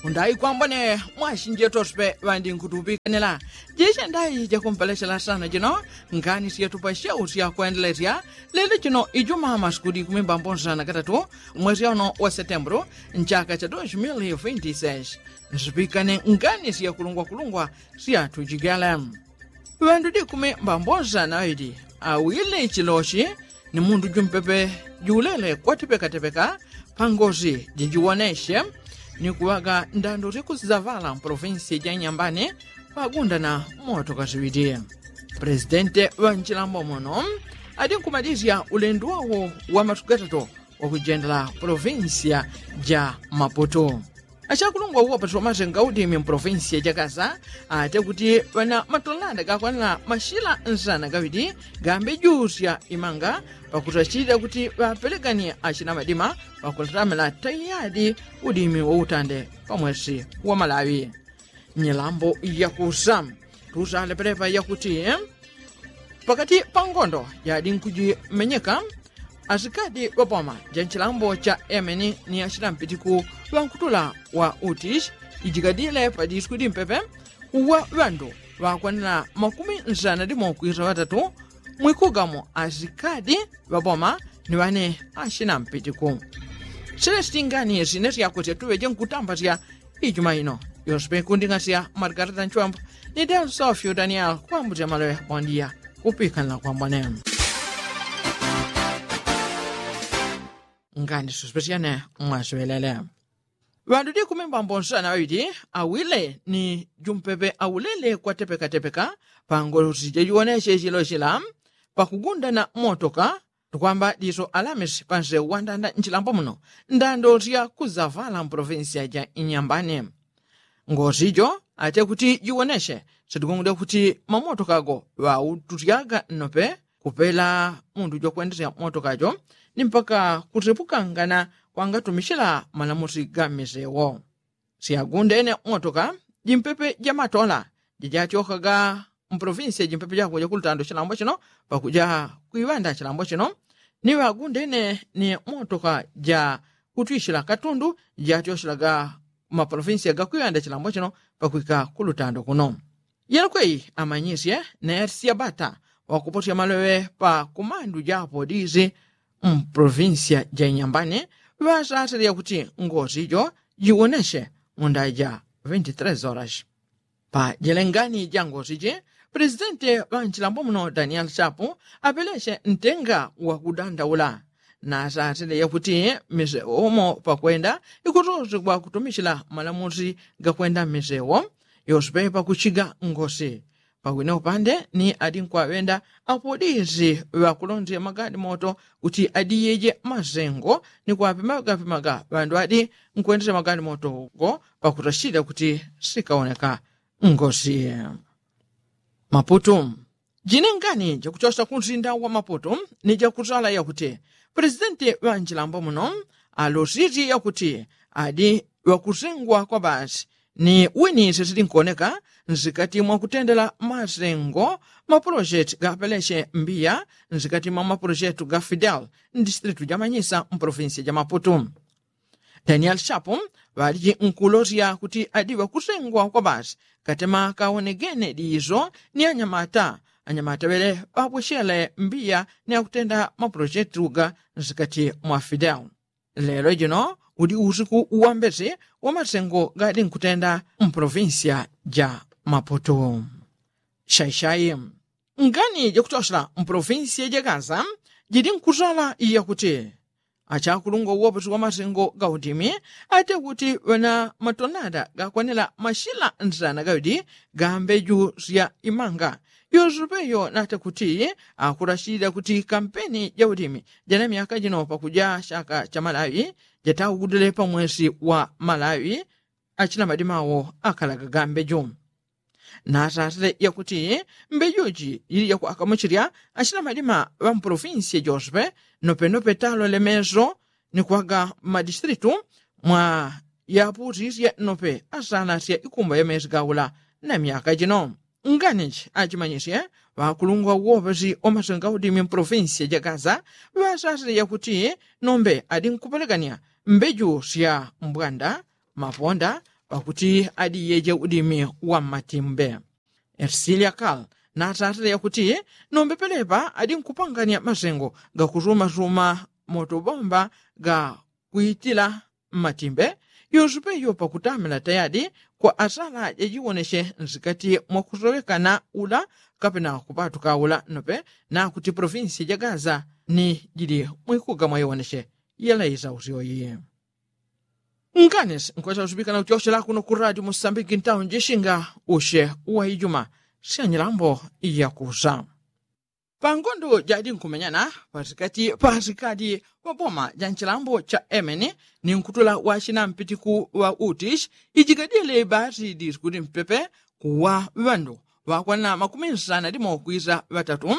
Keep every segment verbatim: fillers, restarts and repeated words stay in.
Undai kwambone mwasinje tospe ŵandi nkutupikanila. Jishe ndai jakumpelesela sana jino ngani syetupa syau syakwendelesya lelo jino ijuma masikudi kumi mbambonsana katatu mwesi ono wa setembulu nchaka cha dos mil vinti seis. Nsipikane ngani syakulungwakulungwa syatujigele. Ŵandu dikumi mbambonsana ŵaŵili awile chiloshi ni mundu jumpepe juulele kwatepekatepeka pangosi jijiwoneshe ni kuŵaga ndandu syakusizavala mpolovinsi ja nyambani pagundana moto kasiŵiti. Pulesidente ŵa nchilambo muno adinkumadisya ulendo wawo wa matuku gatatu wakujendela polovinsiya ja maputu. Achakulungwa uwapatila masenga udimi mpolovinsiya ja gaza ate kuti ŵana matonanda gakwanila mashila nsana gaŵiti gambe jusya imanga pakutachilila kuti ŵapelekani achina madima pakulatamila taiyadi udimi wautande pamwesi wa malawi. Nyilambo yakusa tusalepelepa yakuti pakati pa ngondo yadi nkujimenyeka asikadi ŵapoma ja nchilambo cha emeni ni achitampitiku ŵankutula wa utish ijikadile pa disku dimpepe uwa ŵandu ŵakwanila makumi nsana dimo kwisa ŵatatu mwikugamo asikadi ŵapoma ni ŵane achinampitiku. Sile sitingani sine syakutya tuŵeje nkutambasya ijuma ino yospe kunding'asya margarita nchwambo ni del sofio daniel kwambutya maloŵe bondia kupikanila kwambone. Ngani sospesyane mwasiŵelele ŵandu dikumi mbambonsana ŵaŵili awile ni jumpepe aulele kwatepekatepeka pangosi jajiwoneshe chilo chila pakugundana motoka tukwamba diso alamisi pansewu wandanda nchilambo muno ndando syakuzavala mpolovinsiya ja inyambani. Ngosi jo ate kuti jiwoneshe sitigungudya kuti mamotoka go ŵautusyaga nnope kupela mundu jokwendesya motoka jo ni mpaka kusepukangana kwangatumisyila malamusi ga mmisewo. Syagundene motoka jimpepe jamatola jajatyokaga mpolovinsiya jimpepe jako jakulutando chilambo chino pakuja kwiŵanda chilambo chino ni ŵagundene ni motoka ja kutwisyila katundu jatyosyelaga mapolovinsiya gakwiŵanda chilambo chino pakwika kulutando kuno. Yelokweyi amanyisye nayati syabata ŵakuposya maloŵe pa kumandu japo dizi mpolovinsiya ja inyambani ŵasasile yakuti ngosi jo jiwoneshe mundaya ja vinti tres horas. Pa jelengani ja ngosi ji pulesidente ŵa nchilambo muno daniel chapu apelesye ntenga wakudandaula nasasile yakuti misewo umo pakwenda ikutozegwa kutumisyila malamusi gakwenda mmisewo yospe pakuchiga ngosi. Pawine upande ni adi nkwaŵenda apo dizi ŵakulonzya magalimoto kuti adiyeje masengo ni kwapimagapimaga ŵandu adi nkwendesya magalimoto go pakutachilila kuti sikawoneka ngosi. Maputu. Jinengani jakuchosya kunsinda wa maputu ni jakusala yakuti pulesidenti ŵa nchilambo muno alosisye yakuti adi ŵakusengwa kwa basi ni wini sisili nkuoneka nsikati mwa kutendela masengo mapolojeti ga apeleche mbiya nsikati mwa mapolojeti ga fidel mdistritu ja manyisa mpolovinsiya ja maputu. Daniel chapu ŵaliji nkulosya kuti adi ŵakusengwa kwa basi katema kaonegene diiso ni anyamata anyamata ŵele ŵapwechele mbiya ni akutenda mapolojeti ga nsikati mwa fidel. Lelo jino udi usiku wa mbesi wa masengo gadi nkutenda mpolovinsiya ja maputu. Shaishai ngani jakuchosela mpolovinsiya ja gaza jidi nkusala yakuti achakulungwa uwopesi wa masengo ga udimi ate kuti ŵana matonada gakwanila mashila nsana gaŵidi ga mbeju sya imanga yosepeyo nate kuti akulashilila kuti kampeni ja udimi jana myaka jino pakuja shaka cha malawi jataugudile pa mwesi wa malawi achina madima wo akalaga ga mbeju. Nasasile yakuti mbejuji jili jakwakamuchilya achina madima ŵa mpolovinsiya josepe nopenope talole meso ni kwaga mmadistritu mwa yaputisye nope asanasya ikumba ya mesi gaula na myaka jino. Nganiji achimanyisye ŵakulungwa uwopesi wa masenga udimi mpolovinsiya ja gaza ŵasasile yakuti nombe adi nkupelekanya mbeju sya mbwanda maponda pakuti adiyeje udimi wa mmatimbe. Ersilia kal natatile yakuti nombe pelepa adi nkupangania masengo gakusumasuma motobomba ga kuitila mmatimbe yonsupe iyo pakutamila tayadi kwa asala jajiwoneche nsikati mwakusowekana ula kapena kupatuka ula nope nakuti provinsi ja gaza ni jili mwikuga mwaiwoneche yalaisa usyoyi. Nkanisi nkwesa usupikana uchochela kuno ku radio musambiki ntawo njishinga ushe uwaijuma syanyilambo yakusa. Pangondo jadi nkumenyana pasikati pasikati waboma ja nchilambo cha emeni ni nkutula wachina mpitiku wa utish ijikadile basi disikuti mpepe kuwa ŵandu ŵakwana makumi nsana dimo kwisa ŵatatu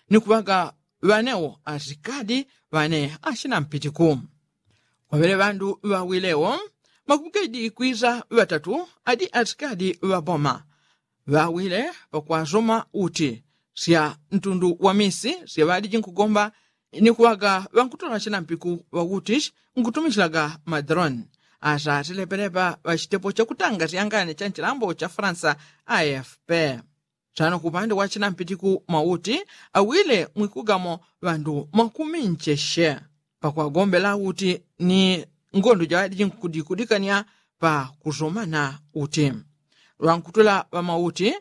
ni kuŵaga ŵanewo asikadi ŵane achina mpitiku. Kwaŵele ŵandu ŵawilewo makumi kaidi kwisa ŵatatu adi asikadi ŵaboma ŵawile pakwasoma uti sya ntundu wa misi sya ŵadiji nkugomba ni kuŵaga ŵankutula chinampiku ŵakuti nkutumichilaga madrone. Asatile pelepa ŵachitepo chakutanga syangane cha nchilambo cha fransa afp. Sano kupande wa chinampitiku mauti awile mwikugamo ŵandu makumincheshe pakwagombela uti ni ngondo jaŵadiji nkudikudikania pakusomana uti ŵankutula ŵamauti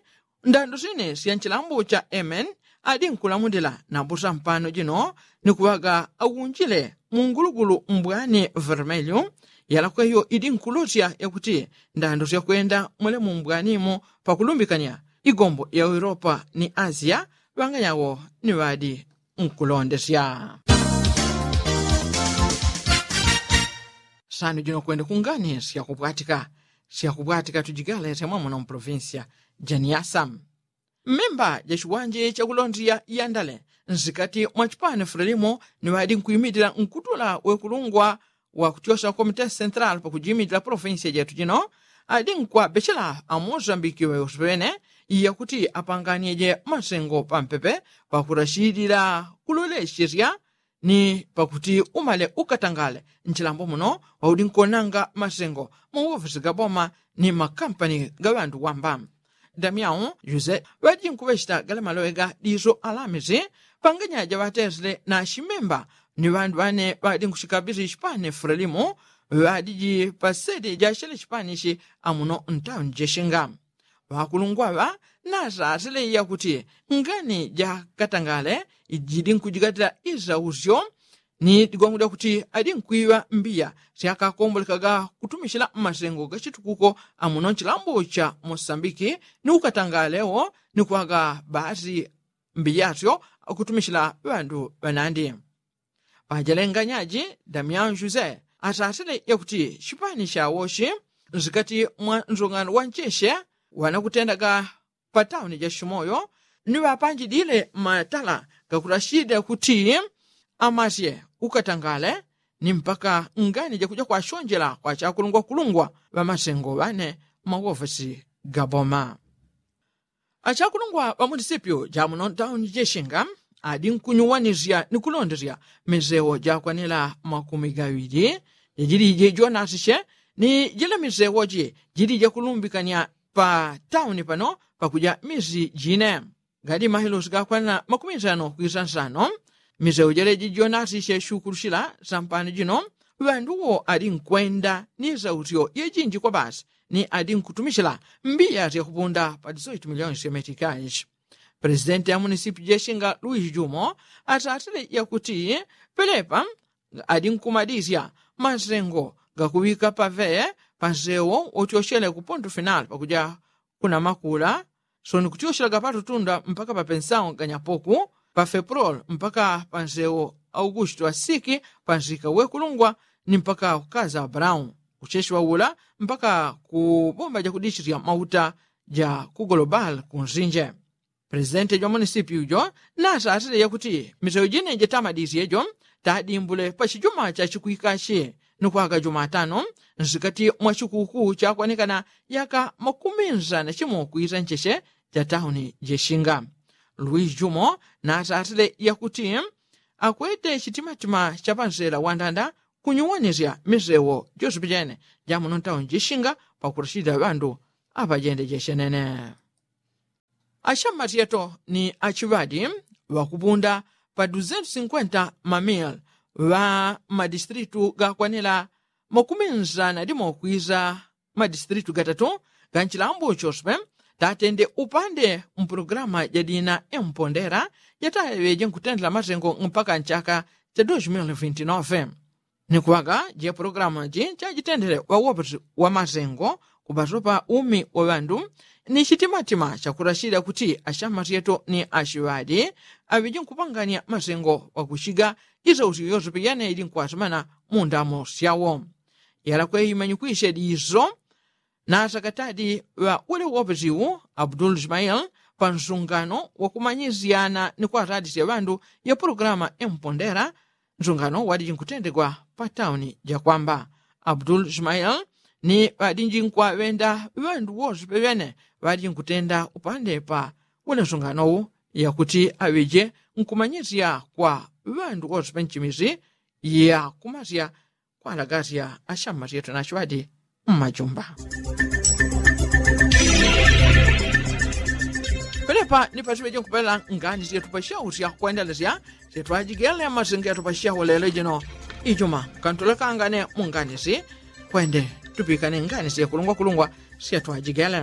ndando sine sya nchilambo cha amen adi nkulamulila nabusa mpano jino ni kuŵaga aunjile mungulugulu mbwani vermelyu. Yalakweyo idi nkulosya yakuti ndando syakwenda mwele mumbwanimo pakulumbikania igombo ya europa ni asia ŵanganyawo ni ŵadi nkulondesya. Sano jino kwende kungani syakupwatika syakupwatika tujigalesya mwamuno mprovinsiya ja niasa. Mmemba ja chiwanje chakulondesya yandale nsikati mwa chipani frelimo ni ŵadi nkuimitila nkutula wekulungwa wakutyosya komite sentral pakujimitila provinsiya jetu jino adi nkwabechela amosambiki ŵewosi ŵene yakuti apanganyeje masengo pampepe pakurashidila kulolechesya ni pakuti umale ukatangale nchilambo muno waudi nkonanga masengo mu ofisi ga boma ni makampani ga ŵandu wamba. Damiao jose ŵadi nkuŵechita gale maloŵe ga diso alamisi panganya jaŵatesile na chimemba ni ŵandu ŵane ŵadi nkuchikabisi chipani frelimo ŵadiji pasede jachele chipanichi amuno ntauni jeshinga. Ŵakulungwaŵa nasasile yakuti ngani jakatangale jidi nkujigatila isausyo ni digongo dyakuti adi nkwiŵa mbiya syakakombolekaga kutumichila mmasengo gachitukuko amuno nchilambo cha mosambiki ni ukatangalewo ni kwaga basi mbiyasyo kutumichila ŵandu ŵanandi. Pajalenganyaji damian jose asasile yakuti chipani chawochi nsikati mwa nsongano wa ncheshe ŵanakutendaga patauni ja chimoyo ni ŵapanjidile matala gakulashida kuti amasye ukatangale ni mpaka ngani jakuja kwashonjela kwa chakulungwakulungwa ŵamasengo ŵane mmakuofesi ga boma. Achakulungwa ŵa munisipyu ja muno ntauni jeshinga adi nkunyuwanisya ni kulondesya misewo jakwanila makumi gaŵili jajilije jonasisye ni jila misewoji jilija kulumbikanya pa tauni pano pakuja misi jine. Gadi mahilusi gakwanila makumi nsano kwisa nsano misewo jeleji jonasisye shukulushila sampano jino ŵanduwo ali nkwenda ni sausyo yejinji kwa basi ni adi nkutumichila mbiya syakupunda pa disoitu miliyoni sya metikashi. Presidenti ya munisipi jeshinga luis jumo asasile yakuti pelepa adi nkumadisya masengo gakuŵika pave pansewo wotyochele ku pontu finali pakuja kuna makula soni kutyochela gapatutunda mpaka papensawo ganyapoku pafeprol mpaka pansewo augusto asiki pansika wekulungwa ni mpaka kukaza abrahamu kuchechiŵa ula mpaka ku bomba jakudichirya mauta ja ku golobal kunsinje. Presidenti jwa munisipyu jo nasasile yakuti misewo jine jatamadisye jo tadimbule pa chijuma cha chikwikachi ni kwaga jumatano nsikati mwa chikuku chakwanekana yaka makumi nsana chimo kwisa ncheche ja tauni jeshinga. Luis jumo nasasile yakuti akwete chitimatima cha pansela wandanda kunyuwanisya misewo josepi jene ja muno ntauni jeshinga. wakurashilila ŵandu aŵajende jechenene. Ashammatyeto ni achiŵadi ŵakupunda pa duzentu sinkwenta mamil ŵa mmadistritu gakwanila makuminza na dimo kwiza mmadistritu gatatu ga nchilambo choswe tatende upande mpulogalamu jadina empondela jataŵeje nkutendela masengo mpaka nchaka cha dos mil vinti nove. Ni kuŵaga je pulogalamu ji chajitendele ŵawopesi wa masengo kuŵasopa umi wa ŵandu ni chitimatima chakurashilila kuti ashamasyeto ni ashiŵadi aŵeje nkupanganya masengo ŵakuchiga isausyo yose piyana ili nkwasimana mu ndamo syawo. Yalakwe imanyikwisye diso na asakatadi ŵa ule wopesiwu abdul ismail pa nsungano wakumanyisyana ni kwatatisya ŵandu ya pulogalamu empondela. Nsungano wadiji nkutendegwa pa tauni jakwamba abdul ismail ni ŵadiji nkwaŵenda ŵandu wose peŵene ŵadiji nkutenda upande pa ule nsunganowu yakuti aŵeje nkumanyisya kwa ŵandu wose penchimisi ya kumasya kwalagasya ashammasyetu na ashiŵadi mmajumba. Penepa ni pasiŵeje nkupelela ngani syetu pasyausya kwendelesya syetwajigele masengo yatupasyawo lelo jino ijuma kantulekangane mu ngani si kwende tupikane ngani syekulungwakulungwa syetwajigele.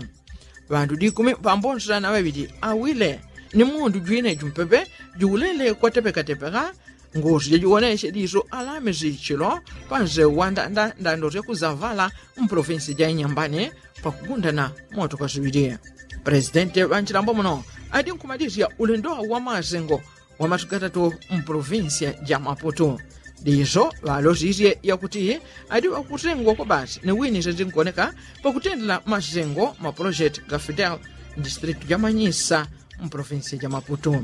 Ŵandu dikumi pambonsela na ŵaŵili awile ni mundu jwine jumpepe juwulele kwatepekatepeka. Ngusu jajiwonesye diso alamisi chilo panse wa ndanda ndando syakuzavala mpolofinsi ja inyambani pakugundana moto kasuŵili. Presidenti ŵa nchilambo muno adi nkumalisya ulendo wa masengo wa masiku gatatu mpolofinsi ja maputu. Diso ŵalosisye yakuti adi ŵakusengwa kwa basi ni wini senzingoneka pakutendela masengo mapolojeti ga fidel mdistritu ja manyisa mpolofinsi ja maputu.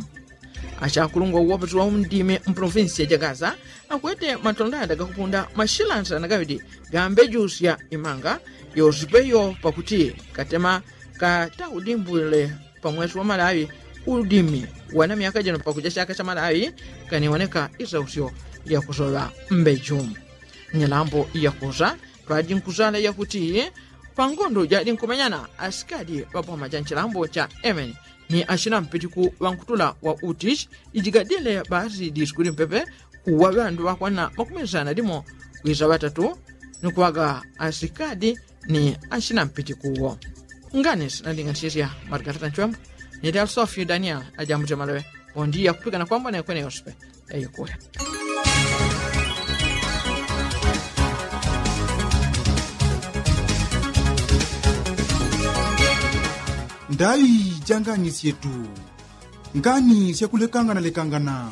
Achakulungwa uwopesi wa undimi mpolofinsi ja gaza akwete matondanda gakupunda mashilansila na gaŵidi gambejusya imanga yosipeyo pakuti katema kataudimbwile pa mwesi wa malaŵi udimi wana myaka jino pakuja chaka cha malaŵi kaniwoneka isausyo yakusoŵa mbeju. Nyalambo yakusa twaji nkusala yakuti pangondo jadi nkumenyana asikadi ŵapoma cha nchilambo cha emeni ni ashina mpitiku ŵankutula wa utishi ijigadile basi disikuli mpepe kuwa ŵandu ŵakwana makumisana dimo kwisa ŵatatu ni kuŵaga asikadi ni ashina mpitikuwo. Ngani sinandinganisisya margarita nchwembo ni dalsofio daniel ajambute maloŵe. Pondi yakupikana kwambona ikwene yospe yayikule. Ndaŵi ja ngani syetu ngani syakulekangana lekangana.